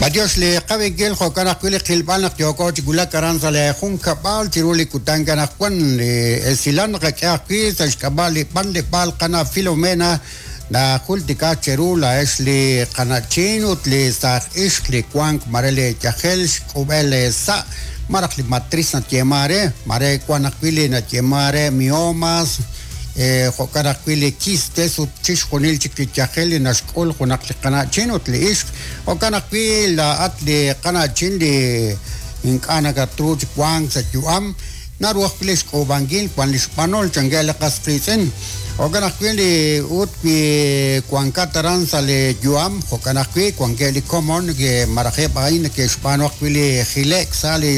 B'antiox li qab'inkil jo'kan ajwi' li qilb'al naq yooko chi wulak aran sa' lee junkab'al chiru li kutan anaqwan. Li esilal naqak'e ajwi' sa' xk'ab'a' li b'anleb'aal qana' Filomena najultika cheru laa'ex li qana'chin ut li saaj ixq li wank mare li yajel xk'ub'el eesa' malaj li matriz nayeeman re, mare wan ajwi' li nayeeman re miomas, Jo'kan ajwi' li quistes ut chixjunil chik li yajel li naxk'ul junaq li qana'chin ut li ixq. Jo'kan ajwi' laa'at li qana'chin li ink'a' nakatru chi wank sa' yu'am, naru ajwi' li xk'uub'ankil wan li xb'anol, chankeb' li qas qiitz'in. Jo'kan ajwi' li ut wi wankat aran sa' li yu'am, jo'kan ajwi' wankeb' li komon malaj eb' a'in neke'xb'aanu ajwi' li jile'k sa' li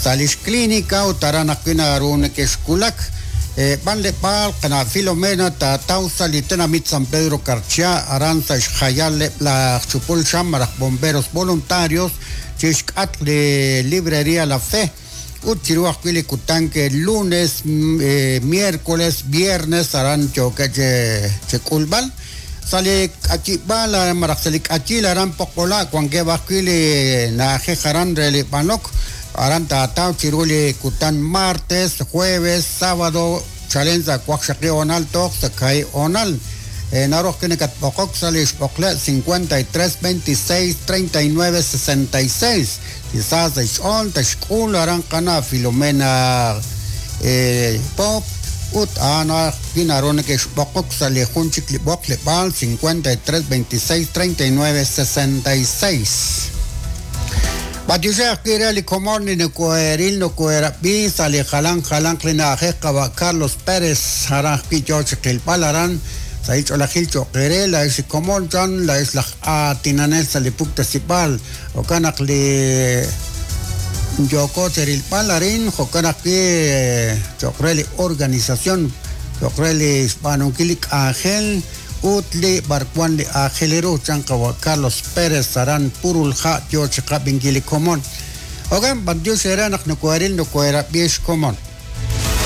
sa' li xclínica ut aran ajwi' naru nekexwulak. B'anleb'aal qana' Filomena taataw sa' li tenamit San Pedro Carchá, aran sa' xjayal eb' laj chupul xam malaj bomberos voluntarios chi xk'atq li Librería La Fe ut chiru ajwi' li kutan lunes, miércoles, viernes aran yookeb' chi k'ulb'al. Sa' li k'ayib'aal malaj sa' li k'ayil aran Poqola' wankeb' ajwi' li na'ajej aran re li b'anok, aran taataw chiru li kutan martes, jueves, sábado chalen sa' waqxaqib' hoonal toj sa' kaahib' hoonal. Naru ajwi' nakatb'oqok sa' li xb'oqleb' 53 26 39 66. Chi sa sa' xch'ool taxk'ul aran qana' Filomena Pop ut a'an ajwi' naru neke'xb'oqok sa' li jun chik li b'oqleb'aal 53 26 39 66. B'antioxej ajwi' re li komon li nokohe'ril nokohe'rab'i sa' li jalan jalanq li na'ajej qawa' Carlos Pérez aran ajwi' yoo chi qilb'al aran sahil ch'oolejil cho'q eere laa'ex li komon chan laa'ex laj aatinanel sa' li puktasib'aal. Jo'kan naq li yooko cherilb'al arin, jo'kan ajwi' cho'q re li organización, cho'q re li xb'aanunkil li k'anjel ut li b'arwan li aajel ru, chan qawa' Carlos Pérez aran Purulha' yo chi qab'inkil li komon. Jo'kan, b'antiox eere naq nokoheril nokoherab'i xkomon.